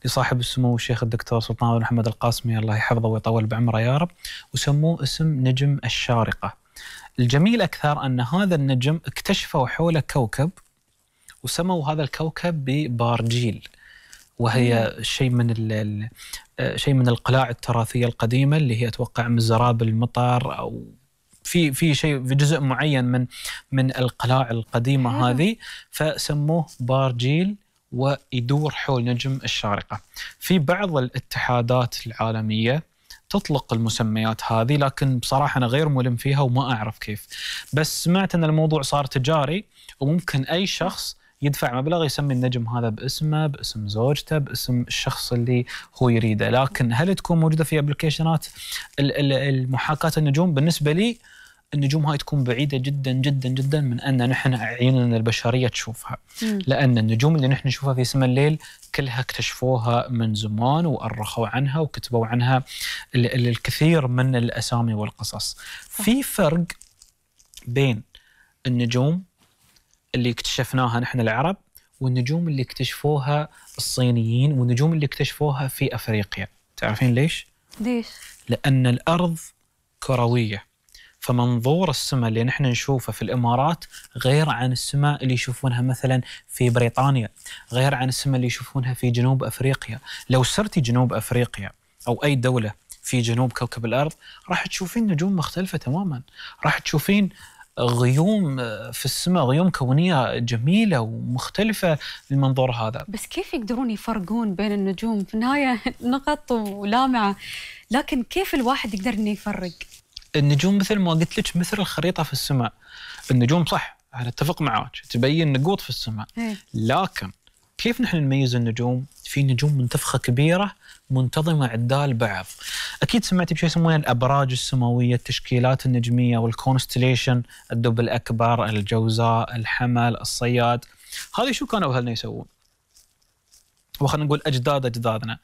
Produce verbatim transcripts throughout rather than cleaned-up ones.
لصاحب السمو الشيخ الدكتور سلطان بن محمد القاسمي الله يحفظه ويطول بعمره يا رب، وسموه اسم نجم الشارقة. الجميل أكثر أن هذا النجم اكتشفوا حوله كوكب وسموا هذا الكوكب ببارجيل، وهي شيء من ال شيء من القلاع التراثية القديمة اللي هي أتوقع من زراب المطر أو في في شيء في جزء معين من من القلاع القديمة هذه، فسموه بارجيل ويدور حول نجم الشارقة. في بعض الاتحادات العالمية تطلق المسميات هذه، لكن بصراحة أنا غير ملم فيها وما أعرف كيف، بس سمعت أن الموضوع صار تجاري وممكن أي شخص يدفع مبلغ يسمي النجم هذا باسمه، باسم زوجته، باسم الشخص اللي هو يريده. لكن هل تكون موجودة في ابلكيشنات المحاكاة النجوم؟ بالنسبة لي النجوم هاي تكون بعيدة جدا جدا جدا من أن نحن عيوننا البشرية تشوفها، لأن النجوم اللي نحن نشوفها في سماء الليل كلها اكتشفوها من زمان وأرخوا عنها وكتبوا عنها الكثير من الأسامي والقصص. في فرق بين النجوم اللي اكتشفناها نحن العرب والنجوم اللي اكتشفوها الصينيين والنجوم اللي اكتشفوها في أفريقيا. تعرفين ليش؟ ليش؟ لأن الأرض كروية، فمنظور السماء اللي نحن نشوفه في الإمارات غير عن السماء اللي يشوفونها مثلا في بريطانيا، غير عن السماء اللي يشوفونها في جنوب أفريقيا. لو سرتي جنوب أفريقيا أو أي دولة في جنوب كوكب الأرض راح تشوفين نجوم مختلفة تماما، راح تشوفين غيوم في السماء، غيوم كونية جميلة ومختلفة للمنظور هذا. بس كيف يقدرون يفرقون بين النجوم؟ في النهاية نقط ولامعة، لكن كيف الواحد يقدر إنه يفرق؟ النجوم مثل ما قلت لك مثل الخريطة في السماء. النجوم صح أنا أتفق معاك تبين نقوط في السماء، لكن كيف نحن نميز النجوم؟ في نجوم منتفخة كبيرة منتظمة عدال بعض. أكيد سمعتي بشيء يسمونه الأبراج السماوية، التشكيلات النجمية والكونستليشن، الدب الأكبر، الجوزاء، الحمل، الصياد. هذه شو كانوا أهلنا يسوون؟ وخلنا نقول أجداد أجدادنا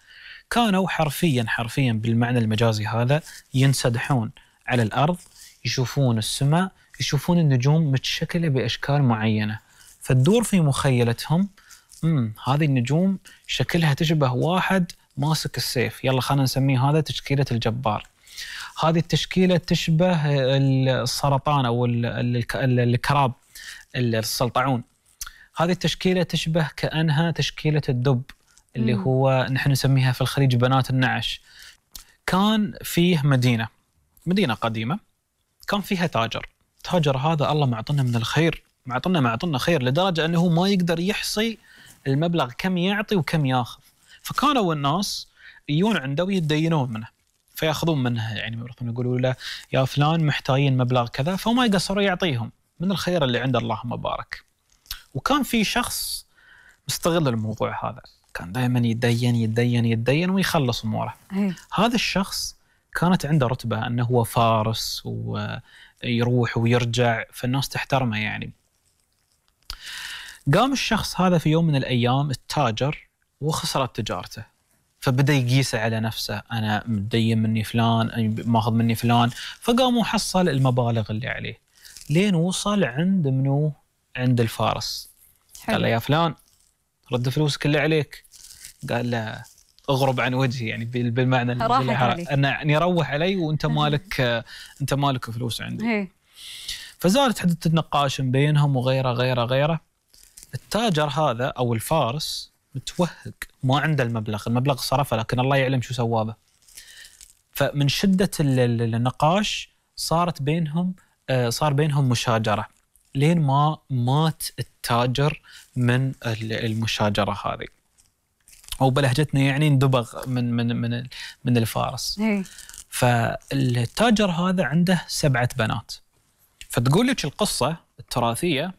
كانوا حرفيا حرفيا بالمعنى المجازي هذا ينسدحون على الأرض، يشوفون السماء، يشوفون النجوم متشكلة بأشكال معينة، فتدور في مخيلتهم امم هذه النجوم شكلها تشبه واحد ماسك السيف، يلا خلينا نسميه هذا تشكيلة الجبار. هذه التشكيلة تشبه السرطان أو الكراب السلطعون. هذه التشكيلة تشبه كأنها تشكيلة الدب اللي مم. هو نحن نسميها في الخليج بنات النعش. كان فيه مدينة مدينة قديمة كان فيها تاجر. تاجر هذا الله معطنا من الخير، معطنا معطنا خير لدرجة أنه ما يقدر يحصي المبلغ كم يعطي وكم ياخذ، فكانوا الناس يجون عنده ويتدينون منه فياخذون منه، يعني يقولوا له يا فلان محتاجين مبلغ كذا، فما يقصروا يعطيهم من الخير اللي عند اللهم بارك. وكان في شخص مستغل الموضوع هذا، كان دائما يتدين يتدين يتدين ويخلص اموره. هذا الشخص كانت عنده رتبة أنه هو فارس ويروح ويرجع، فالناس تحترمه يعني. قام الشخص هذا في يوم من الأيام التاجر وخسرت تجارته، فبدأ يقيسه على نفسه، أنا متدين مني فلان، ماخذ مني فلان، فقام وحصل المبالغ اللي عليه لين وصل عند منو؟ عند الفارس. حلو. قال له يا فلان رد فلوسك اللي عليك. قال له اغرب عن وجهي، يعني بالمعنى اني اروح علي وانت مالك انت مالك فلوس عندي. هي. فزالت حدث النقاش بينهم وغيره غيره غيره. التاجر هذا او الفارس متوهق، ما عنده المبلغ، المبلغ صرفه لكن الله يعلم شو سواه به. فمن شدة النقاش صارت بينهم صار بينهم مشاجرة لين ما مات التاجر من المشاجرة هذه، أو بلهجتنا يعني اندبغ من من من من الفارس. هي. فالتاجر هذا عنده سبعة بنات، فتقول لك القصة التراثية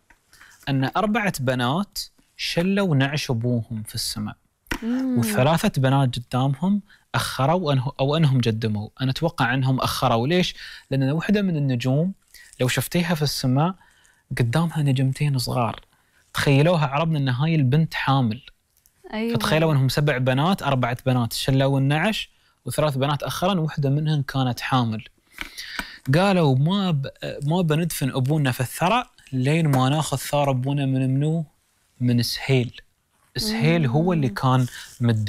أن أربعة بنات شلوا نعش أبوهم في السماء، وثلاثة بنات قدامهم أخروا أنه أو أنهم جدموا. أنا أتوقع أنهم أخروا. ليش؟ لأن واحدة من النجوم لو شفتيها في السماء قدامها نجمتين صغار، تخيلوها عربنا أن هاي البنت حامل. أيوة. فتخيلوا أنهم سبع بنات، أربعة بنات شلوا النعش وثلاث بنات أخرن، وواحدة منهم كانت حامل. قالوا ما ب... ما بندفن أبونا في الثرى لين ما ناخذ ثار أبونا من منو؟ من سهيل. سهيل هو اللي كان مد